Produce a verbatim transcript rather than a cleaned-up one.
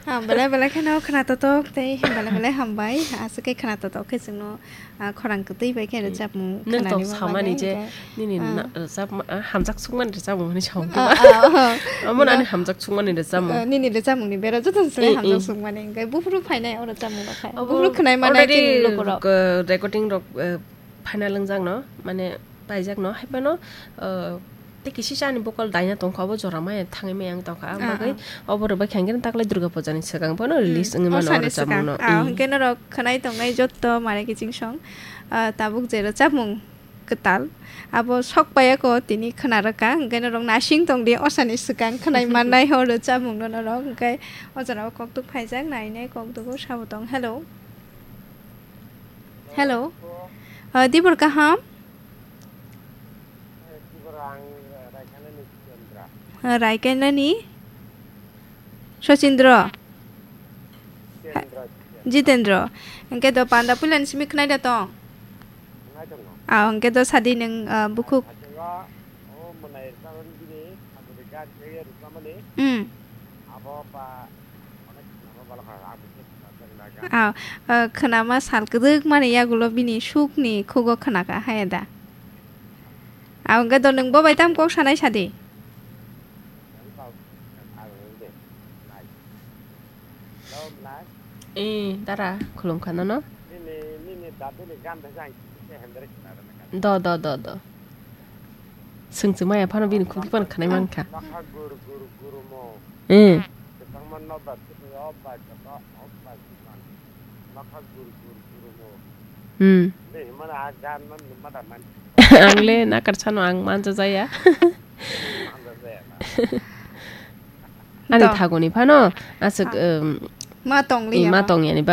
Ah, belai belai kheno khna totok tei belai belai hambai. Aswk khe khna totok khe chwngno, ah, khorang kwtwi bai khe rwchapmung Nwng tong khnani samani bagwi je hwnkhe, nini ah. na-, rwchapma, ah, hamjak sukmani rwchapmung hwnwi sa hwn Ah, khe ba. Ah, ah. Omo Na- ani hamjak sukmani rwchapmung. Ah, nini rwchapmungni bera jotono se Eh, hamjak eh. sukmani hwnkhe buphuru phainai o rwchapmung rok hai. Abo Buphuru khwnai manai already chini lukurok. K-, recording rok, eh, phaina lwngjakno, mane paijakno, haiphano, eh, tei kisi chani bokol daina tongkha, obo jora maya thangwi maya wng tongkha. Ah, Bagwi ah. obo rwbai khe hwnkhe taklai Durga Puja ni swkang phano Hmm, release wngwi o mano o sani rwchapmung swkang. no. Ah, Hmm. hwnkhe norok khwnai tongnai jotto mare kiching song, ah, tabuk je rwchapmung kwtal. Abo sok paiya ko tini khwna rwkha, hwnkhe norok nasing tong di, o sani swkang khwnai mannai ho rwchapmung no norok. Hwnkhe o jora o kokduk phaijak, nainai kokduk o sabo tong. Hello. Hello. Ah, Dibor kaham? Raikainani Sachindra. Jitendra. Hwnkhe do panda puilani simi khwnai da tong? Ah, hwnkhe do sadi nwng, ah, bukhuk. Hmm. Ah, ah, khwnama sal kwdwk mani yagulo bini sukni khugo khwnaka haya da. Ah, hwnkhe do nwng bo bai tam kok sanai sadi. Eh, dara, khulum kha nono. Do, do, do, do. Swngchwmaya phano bini khukli phano khanai mankha. Eh. Hmm. Ang le nakar sano ang manja jaya. Ani To. Thagoni phano aswk, Ah. um, Ma tong eh, liya ma ba. Tong yani